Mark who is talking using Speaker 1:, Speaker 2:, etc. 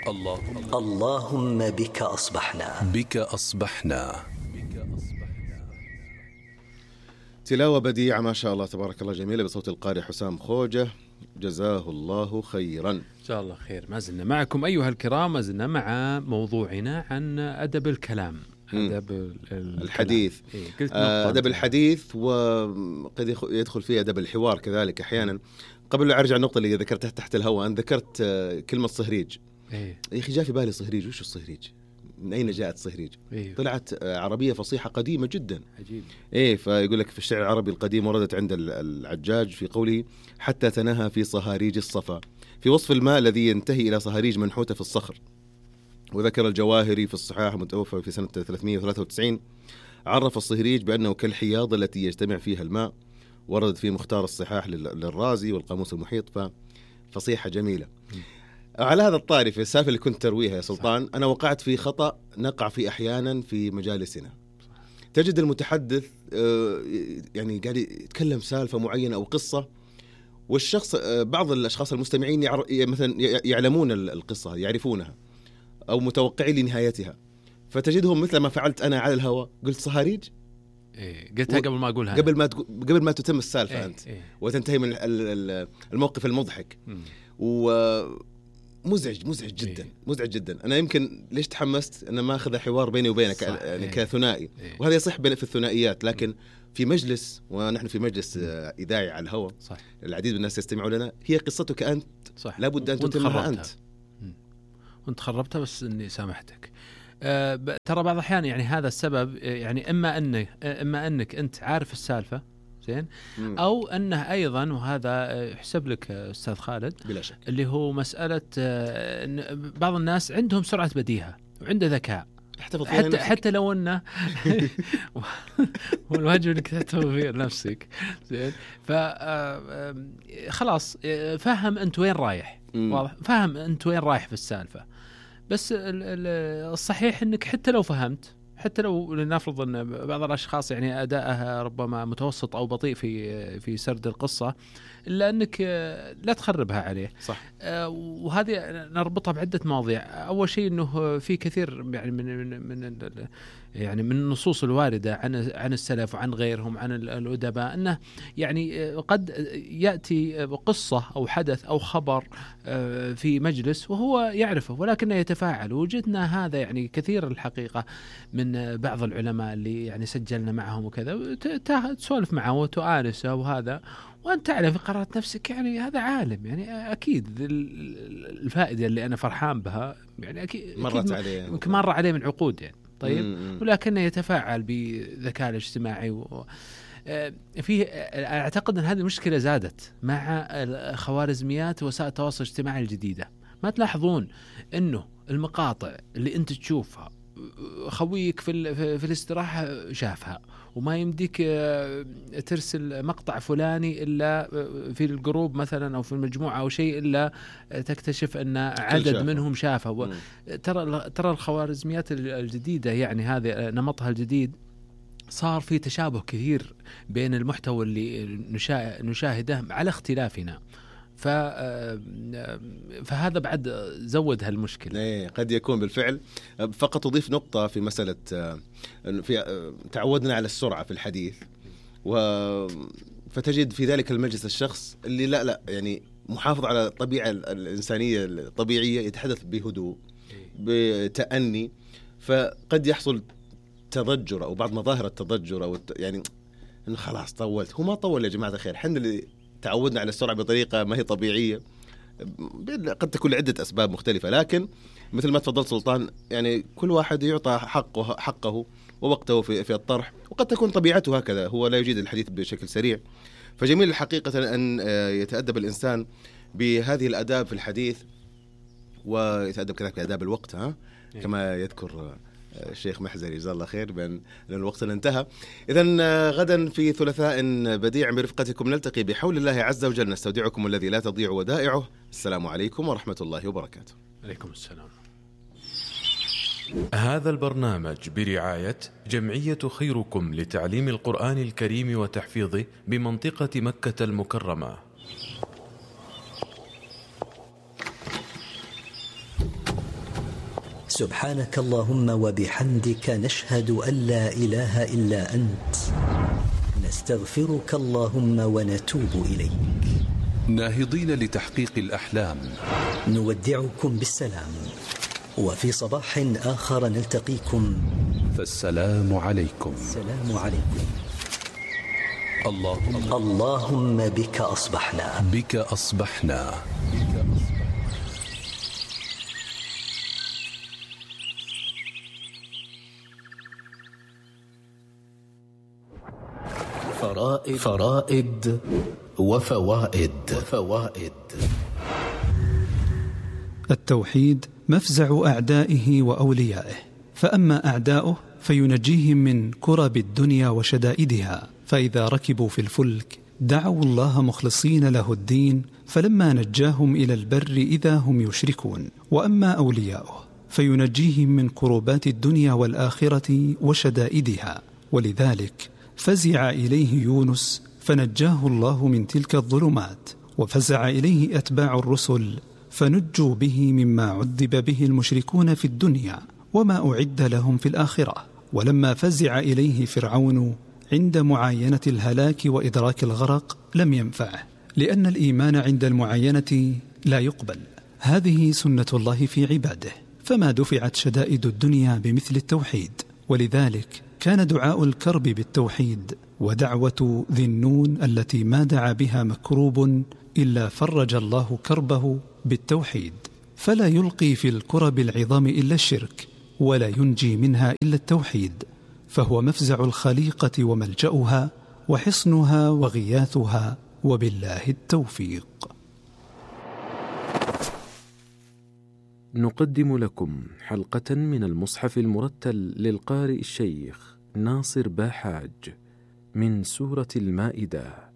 Speaker 1: اللهم بك أصبحنا.
Speaker 2: تلاوة بديعة ما شاء الله تبارك الله، جميلة بصوت القارئ حسام خوجة، جزاه الله خيرا.
Speaker 3: إن شاء الله خير. ما زلنا معكم أيها الكرام، ما زلنا مع موضوعنا عن أدب الكلام، أدب
Speaker 2: الحديث. أدب الحديث، وقد يدخل فيه أدب الحوار كذلك أحيانا. قبل لا أرجع النقطة اللي ذكرتها تحت الهواء، أنا ذكرت كلمة صهريج. يا أخي جاء في بالي صهريج، وش الصهريج؟ من أين جاءت صهريج؟ طلعت عربية فصيحة قديمة جدا.
Speaker 3: عجيب.
Speaker 2: فيقول لك في الشعر العربي القديم وردت عند العجاج في قوله حتى تناهى في صهاريج الصفا، في وصف الماء الذي ينتهي إلى صهاريج منحوتة في الصخر. وذكر الجواهري في الصحاح متوفى في سنة 393 عرف الصهريج بأنه كالحياض التي يجتمع فيها الماء. وردت في مختار الصحاح للرازي والقاموس المحيط، ففصيحة جميلة. على هذا الطاري في السالفة اللي كنت ترويها يا سلطان، أنا وقعت في خطأ نقع فيه أحيانا في مجالسنا. تجد المتحدث يعني قاعد يتكلم سالفة معينة أو قصة، والشخص بعض الأشخاص المستمعين مثلا يعلمون القصة، يعرفونها أو متوقعين لنهايتها، فتجدهم مثل ما فعلت أنا على الهواء، قلت صهاريج.
Speaker 3: قلتها قبل ما أقولها،
Speaker 2: قبل ما تتم السالفة أنت وتنتهي من الموقف المضحك. مزعج جدا، مزعج جدا. أنا يمكن ليش تحمست أنا ما أخذ حوار بيني وبينك يعني كثنائي، وهذا يصح في الثنائيات، لكن في مجلس، ونحن في مجلس إذاعي على الهواء، العديد من الناس يستمعوا لنا، هي قصتك أنت، لابد أن تتمها أنت.
Speaker 3: وانت خربتها، بس إني سامحتك. ترى بعض الأحيان يعني هذا السبب، يعني إما أنك أنت عارف السالفة زين، أو أنه أيضا، وهذا يحسب لك أستاذ خالد
Speaker 2: بلا شك،
Speaker 3: اللي هو مسألة بعض الناس عندهم سرعة بديهة وعنده ذكاء، حتى لو أنه والواجب أنك تحتفظ في نفسك زين. خلاص فهم أنت وين رايح، واضح، فهم أنت وين رايح في السالفة. بس الصحيح أنك حتى لو فهمت، حتى لو لنفرض أن بعض الأشخاص يعني أداءها ربما متوسط أو بطيء في سرد القصة، إلا أنك لا تخربها عليه.
Speaker 2: صح.
Speaker 3: وهذه نربطها بعدة مواضيع. أول شيء أنه في كثير يعني من النصوص الواردة عن السلف وعن غيرهم عن الأدباء، أنه يعني قد يأتي قصة أو حدث أو خبر في مجلس وهو يعرفه ولكنه يتفاعل. وجدنا هذا يعني كثير الحقيقة من بعض العلماء اللي يعني سجلنا معهم وكذا، تسولف معه وتؤانسه وهذا، وأنت تعلم في قرارة نفسك يعني هذا عالم، يعني أكيد الفائدة اللي أنا فرحان بها يعني أكيد مر عليه من عقود يعني. طيب، ولكنه يتفاعل بذكاء الاجتماعي فيه. أعتقد أن هذه المشكلة زادت مع خوارزميات وسائل التواصل الاجتماعي الجديدة. ما تلاحظون أنه المقاطع اللي أنت تشوفها خويك في الاستراحة شافها، وما يمديك ترسل مقطع فلاني إلا في الجروب مثلا أو في المجموعة أو شيء إلا تكتشف أن عدد منهم شافه. ترى الخوارزميات الجديدة يعني هذا نمطها الجديد، صار في تشابه كثير بين المحتوى اللي نشاهده على اختلافنا. فهذا بعد زود هالمشكلة.
Speaker 2: قد يكون بالفعل. فقط أضيف نقطة في مسألة في تعودنا على السرعة في الحديث، فتجد في ذلك المجلس الشخص اللي لا يعني محافظ على الطبيعة الإنسانية الطبيعية، يتحدث بهدوء بتأني، فقد يحصل تضجر أو بعض مظاهر التضجر، أو يعني إنه خلاص طولت. هو ما طول يا جماعة الخير، حنا اللي تعودنا على السرعة بطريقة ما هي طبيعية، قد تكون لعدة أسباب مختلفة. لكن مثل ما تفضل سلطان، يعني كل واحد يعطى حقه ووقته في الطرح، وقد تكون طبيعته هكذا، هو لا يجيد الحديث بشكل سريع. فجميل الحقيقة أن يتأدب الإنسان بهذه الآداب في الحديث، ويتأدب كذلك بآداب الوقت، كما يذكر الشيخ محزري جزاه الله خير، بأن الوقت انتهى. إذن غدا في ثلاثاء بديع برفقتكم نلتقي بحول الله عز وجل. نستودعكم الذي لا تضيع ودائعه. السلام عليكم ورحمة الله وبركاته.
Speaker 3: عليكم السلام.
Speaker 4: هذا البرنامج برعاية جمعية خيركم لتعليم القرآن الكريم وتحفيظه بمنطقة مكة المكرمة.
Speaker 1: سبحانك اللهم وبحمدك نشهد أن لا إله إلا أنت نستغفرك اللهم ونتوب إليك.
Speaker 5: ناهضين لتحقيق الأحلام
Speaker 1: نودعكم بالسلام، وفي صباح آخر نلتقيكم،
Speaker 5: فالسلام عليكم.
Speaker 1: السلام عليكم.
Speaker 5: اللهم
Speaker 1: بك أصبحنا.
Speaker 5: بك أصبحنا.
Speaker 6: فرائد وفوائد.
Speaker 7: التوحيد مفزع أعدائه وأوليائه، فأما أعداؤه فينجيهم من كرب الدنيا وشدائدها، فإذا ركبوا في الفلك دعوا الله مخلصين له الدين، فلما نجاهم إلى البر إذا هم يشركون. وأما أولياؤه فينجيهم من كربات الدنيا والآخرة وشدائدها، ولذلك فزع إليه يونس فنجاه الله من تلك الظلمات، وفزع إليه أتباع الرسل فنجوا به مما عذب به المشركون في الدنيا وما أعد لهم في الآخرة. ولما فزع إليه فرعون عند معاينة الهلاك وإدراك الغرق لم ينفعه، لأن الإيمان عند المعاينة لا يقبل. هذه سنة الله في عباده، فما دفعت شدائد الدنيا بمثل التوحيد. ولذلك كان دعاء الكرب بالتوحيد، ودعوة ذي النون التي ما دعا بها مكروب إلا فرج الله كربه بالتوحيد، فلا يلقي في الكرب العظام إلا الشرك، ولا ينجي منها إلا التوحيد، فهو مفزع الخليقة وملجأها وحصنها وغياثها، وبالله التوفيق.
Speaker 4: نقدم لكم حلقة من المصحف المرتل للقارئ الشيخ ناصر باحاج من سورة المائدة.